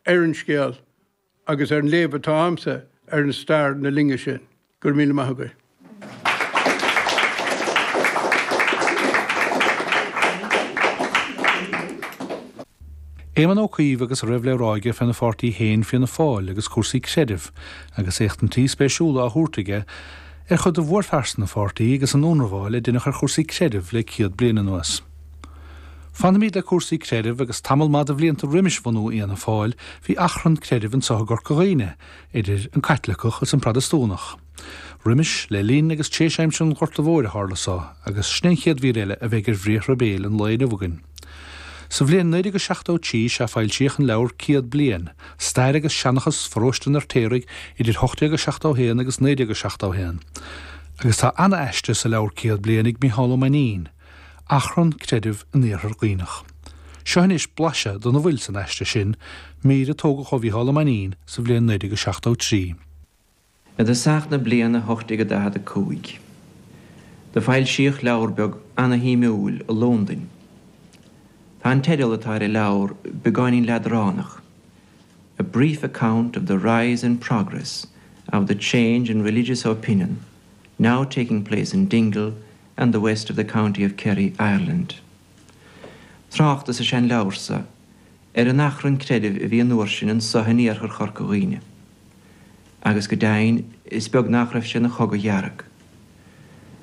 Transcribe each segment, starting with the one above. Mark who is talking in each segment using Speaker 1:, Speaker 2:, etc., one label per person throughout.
Speaker 1: ar an scéal agus ar an léamh atá a'msa ar an stair na linne sin. Go raibh míle maith agaibh.
Speaker 2: Éamon Ó Cuív agus a raibh le rá aige féna pháirtí féin Fianna Fáil agus cúrsaí creidimh, agus éachtaintí spéisiúla á thabhairt aige ar chuid de mhórphearsana an pháirtí agus an ionramháil a deineadh ar chúrsaí creidimh le 100 bliain anuas. Fanfaimid le cúrsaí creidimh agus tamall maith de bhlianta roimis bhunú Fhianna Fáil bhí achrann creidimh anso i gCorca Dhuibhne idir an Caitliceach is an Protastúnach. Roimis, le linn agus tréis aimsir an Ghorta Mhóir a tharla so agus sin an chéad mhír eile a bheidh ar bhriathra béil an lae inniu againn. Sa bhliain 1973 sea foilsíodh an leabhar Céad Bliain, Stair agus Seanchas Pharóiste an Fheirtéaraigh idir 1871 agus 1971 agus tá ana-aiste sa leabhar Céad Bliain ag Micheál Ó Mainnín, Achrann creidimh in Iarthar Dhuibhneach. Seo anois blaiseadh dona bhfuil san aiste sin, mír a tógadh ó Mhícheál Ó Mainnín sa bhliain 1973.
Speaker 3: I dtosach na bliana 1845, do foilsíodh leabhar beag ana-shuimiúil i Lúndain. Tá an teideal atá ar an leabhar beagáinín leadránach, A Brief Account of the Rise and Progress of the Change in Religious Opinion Now Taking Place in Dingle and the West of the County of Kerry, Ireland. Tráchtas is ea an leabhar so ar an achrann creidimh a bhí an uair sin anso in iarthar Chorca Dhuibhne, agus go deimhin is beag nach raibh sé ina chogadh dhearg.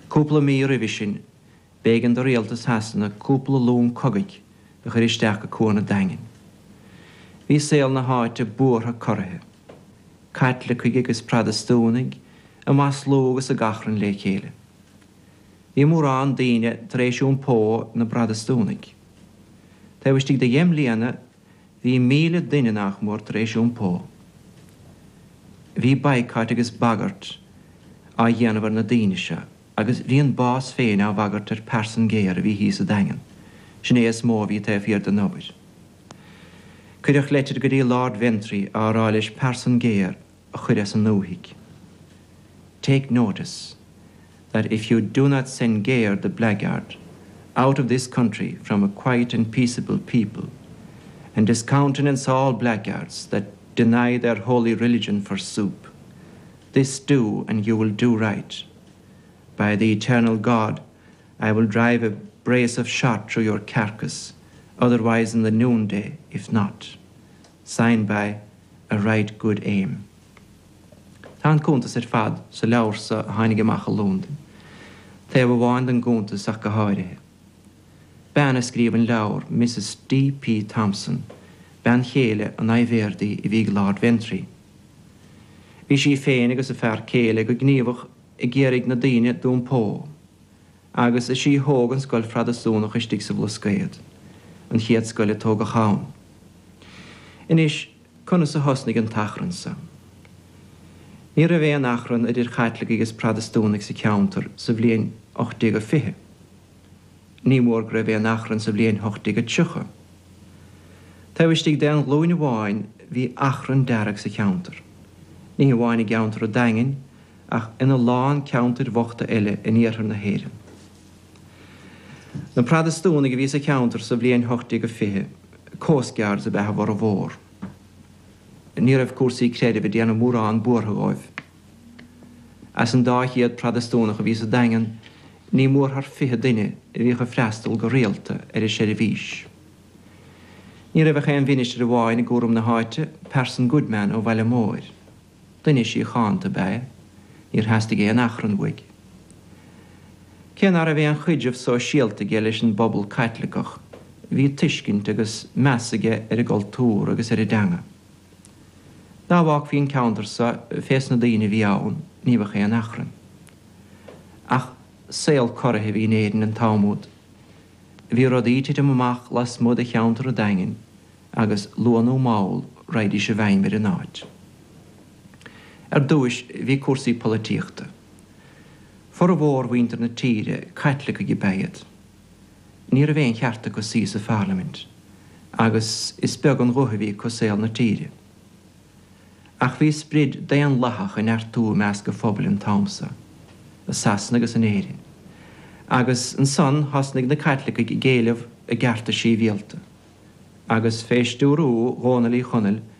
Speaker 3: Cúpla mí roimhe sin b'éigean do rialtas Shasana cúpla long cogaidh a chur isteach go Cuan an Daingin. Bhí saol na háite buartha corraithe. Caitlicigh agus Protastúnaigh ag maslú agus ag achrann le chéile. Bhí mórán daoine tar éis iompó 'na bProtastúnaigh. Taobh istigh de dheich mbliana bhí 1,000 duine nach mór tar éis iompó. Bhí boycott agus bagairt á dhéanamh ar na daoine seo agus bhí an bás féin á bhagairt ar Phearson Gare a bhí thíos sa Daingean. Sin é is mó a bhí taobh thiar den obair. Cuireadh leitir go dtí Lord Ventry á rá leis Pearson Gare a chur as an ndúthaigh. Take notice that if you do not send Gare the blackguard out of this country from a quiet and peaceable people and discountenance all blackguards that deny their holy religion for soup, this do and you will do right. By the eternal God, I will drive a brace of shot through your carcass, otherwise in the noonday, if not. Signed by a right good aim. Tá an cuntas ar fad sa leabhar so a tháinig amach i Londain. Taobh amháin den gcuntas ach go háirithe. Bean a scríobh an leabhar, Mrs D. P. Thompson, bean chéile an aidhbhéardaí a bhí ag Lord Ventry. Bhí sí féin agus a fear céile go gníomhach ag iarraidh na daoine d'iompó. Agus is í a thóg an scoil Phrotastúnach istigh sa Bhlascaod, an chéad scoil a tógadh ann. Anois, conas a thosnaigh an t-achrann so? Ní raibh aon achrann idir Chaitlicigh agus Protastúnaigh sa cheantar sa bhliain 1820. Ní mór go raibh aon achrann sa bhliain 1830. Taobh istigh d'aon ghlúin amháin bhí achrann dearg sa cheantar. Ní hamháin i gceantar an Daingin, ach ina lán ceantair bhochta eile in iarthar na hÉireann. Na Protastúnaigh a bhí sa cheantar sa bhliain 1820, coastguards ab ea a bhformhór. Ní raibh cúrsaí creidimh ag déanamh mórán buartha dhóibh. As an 200 Protastúnach a bhí sa Daingean, ní mór thar 20 duine a bhíodh ag freastal go rialta ar an seirbhís. Ní raibh ach aon mhinistir amháin i gcúram na háite, Pearson Goodman ó Bhaile Móir. Duine síochánta ab ea é. Níor theastaigh aon achrann uaidh. Cé ná raibh aon chaidreamh sóisialta aige leis an bpobal Caitliceach, bhí tuiscint agus meas aige ar an gcultúr agus ar an dteanga. Dá bhfágfaí an ceantar so fés na daoine a bhí ann, ní bheadh aon achrann. Ach saol corraithe a bhí in Éirinn an t-am úd. Bhí rudaí ag titim amach lasmuigh de cheantar an Daingin agus luath nó mall raghaidís i bhfeidhm ar an áit. Ar dtúis bhí cúrsaí polaitíochta. Formhór mhuintir na tíre, Caitlicigh ab ea iad. Ní raibh aon cheart acu suí sa pharlaimint, agus is beag an guth a bhí acu i saol na tíre. Ach bhí sprid daonlathach ag neartú i measc an phobail an t-am so, i Sasana agus in Éirinn, agus ansan thosnaigh na Caitlicigh ag éileamh a gcearta síbhialta. Agus fé stiúrú Dhónaill Uí Chonaill.